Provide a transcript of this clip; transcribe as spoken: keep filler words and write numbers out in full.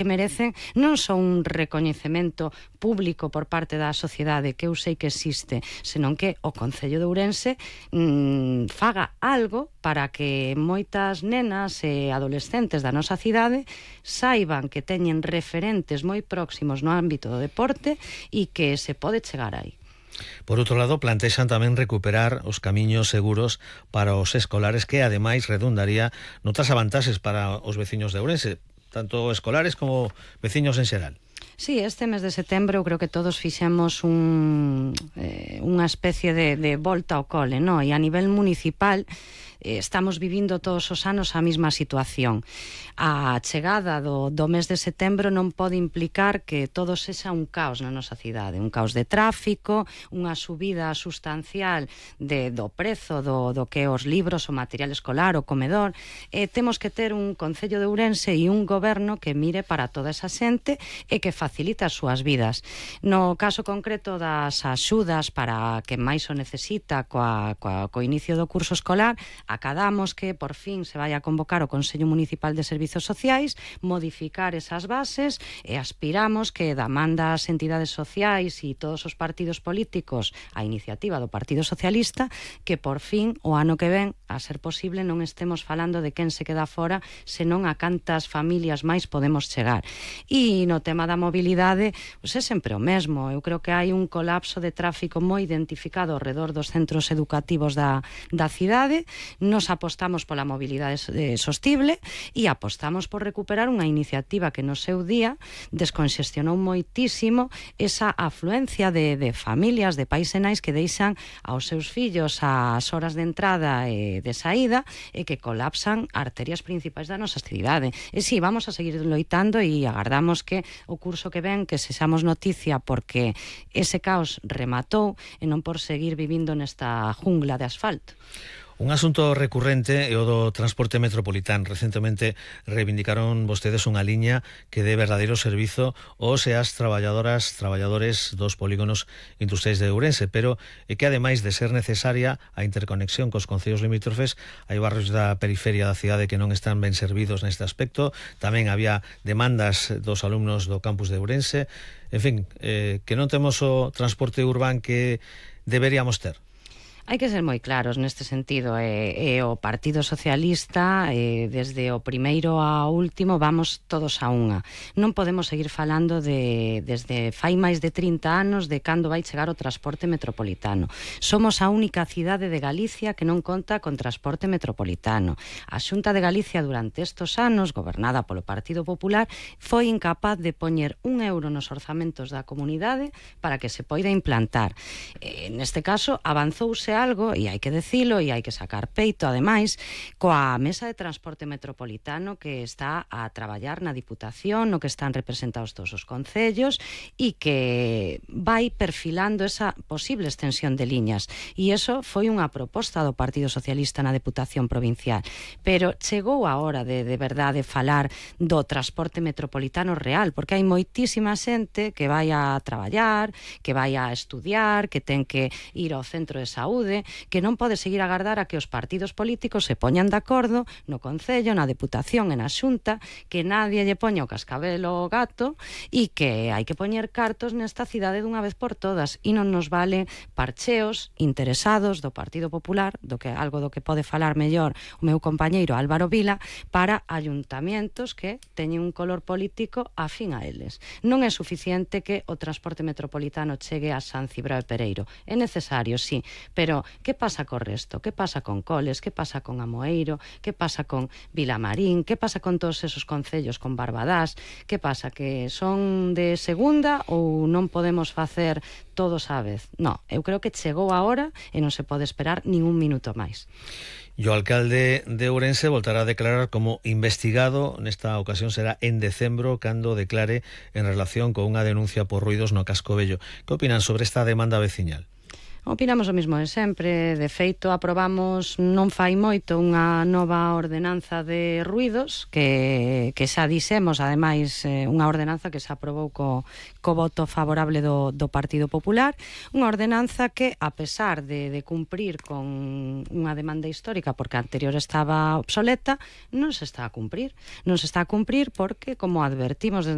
que merecen non só un recoñecemento público por parte da sociedade, que eu sei que existe, senón que o Concello de Ourense mmm, faga algo para que moitas nenas e adolescentes da nosa cidade saiban que teñen referentes moi próximos no ámbito do deporte e que se pode chegar aí. Por outro lado, plantexan tamén recuperar os camiños seguros para os escolares, que ademais redundaría noutras avantaxes para os veciños de Ourense, tanto escolares como veciños en xeral. Sí, este mes de setembro eu creo que todos fixemos un, eh, unha especie de, de volta ao cole, no? E a nivel municipal eh, estamos vivindo todos os anos a mesma situación. A chegada do, do mes de setembro non pode implicar que todo sexa un caos na nosa cidade, un caos de tráfico, unha subida sustancial de, do prezo do, do que os libros, o material escolar, o comedor. Eh, temos que ter un Concello de Ourense e un goberno que mire para toda esa xente e que facilita as súas vidas. No caso concreto das axudas para que máis o necesita coa, coa, co inicio do curso escolar, acadamos que por fin se vai a convocar o Consello Municipal de Servizos Sociais, modificar esas bases e aspiramos que da man das entidades sociais e todos os partidos políticos a iniciativa do Partido Socialista, que por fin o ano que ven, a ser posible, non estemos falando de quen se queda fora, senón a cantas familias máis podemos chegar. E no tema da mobilidade, pois é sempre o mesmo. Eu creo que hai un colapso de tráfico moi identificado ao redor dos centros educativos da, da cidade. Nos apostamos pola mobilidade sostible e apostamos por recuperar unha iniciativa que no seu día desconxestionou moitísimo esa afluencia de, de familias, de pais e nais que deixan aos seus fillos as horas de entrada e de saída e que colapsan arterias principais da nosa cidade. E si, vamos a seguir loitando e agardamos que o curso que ven que sexamos noticia, porque ese caos rematou e non por seguir vivindo nesta jungla de asfalto. Un asunto recurrente é o do transporte metropolitano. Recentemente reivindicaron vostedes unha liña que dé verdadeiro servizo aos e as traballadoras, traballadores dos polígonos industriais de Ourense, pero é que ademais de ser necesaria a interconexión cos concellos limítrofes, hai barrios da periferia da cidade que non están ben servidos neste aspecto. Tamén había demandas dos alumnos do campus de Ourense. En fin, eh, que non temos o transporte urbán que deberíamos ter. Hai que ser moi claros neste sentido, e, e o Partido Socialista, e, desde o primeiro ao último, vamos todos a unha. Non podemos seguir falando de, desde fai máis de trinta anos de cando vai chegar o transporte metropolitano. Somos a única cidade de Galicia que non conta con transporte metropolitano. A Xunta de Galicia durante estos anos, gobernada polo Partido Popular, foi incapaz de poñer un euro nos orzamentos da comunidade para que se poida implantar. E, neste caso, avanzouse algo, e hai que decilo, e hai que sacar peito, ademais, coa Mesa de Transporte Metropolitano que está a traballar na Diputación, no que están representados todos os concellos, e que vai perfilando esa posible extensión de liñas. E iso foi unha proposta do Partido Socialista na Deputación Provincial. Pero chegou a hora de, de verdade, falar do transporte metropolitano real, porque hai moitísima xente que vai a traballar, que vai a estudiar, que ten que ir ao centro de saúde, que non pode seguir a agardar a que os partidos políticos se poñan de acordo no Concello, na Deputación e na Xunta, que nadie lle poña o cascabel ao gato e que hai que poñer cartos nesta cidade dunha vez por todas, e non nos vale parcheos interesados do Partido Popular, do que algo do que pode falar mellor o meu compañeiro Álvaro Vila, para ayuntamientos que teñen un color político afín a eles. Non é suficiente que o transporte metropolitano chegue a San Cibrao e Pereiro. É necesario, sí, pero que pasa co resto? Que pasa con Coles? Que pasa con Amoeiro? Que pasa con Vilamarín? Que pasa con todos esos concellos, con Barbadás? Que pasa? Que son de segunda ou non podemos facer todos á vez? No, eu creo que chegou a hora e non se pode esperar nin un minuto máis. E o alcalde de Ourense voltará a declarar como investigado. Nesta ocasión será en decembro cando declare en relación con unha denuncia por ruidos no Casco Vello. Que opinan sobre esta demanda veciñal? Opinamos o mismo de sempre. De feito, aprobamos non fai moito unha nova ordenanza de ruidos que, que xa dixemos, ademais, eh, unha ordenanza que se aprobou co, co voto favorable do, do Partido Popular, unha ordenanza que, a pesar de, de cumprir con unha demanda histórica, porque a anterior estaba obsoleta, non se está a cumprir. Non se está a cumprir porque, como advertimos desde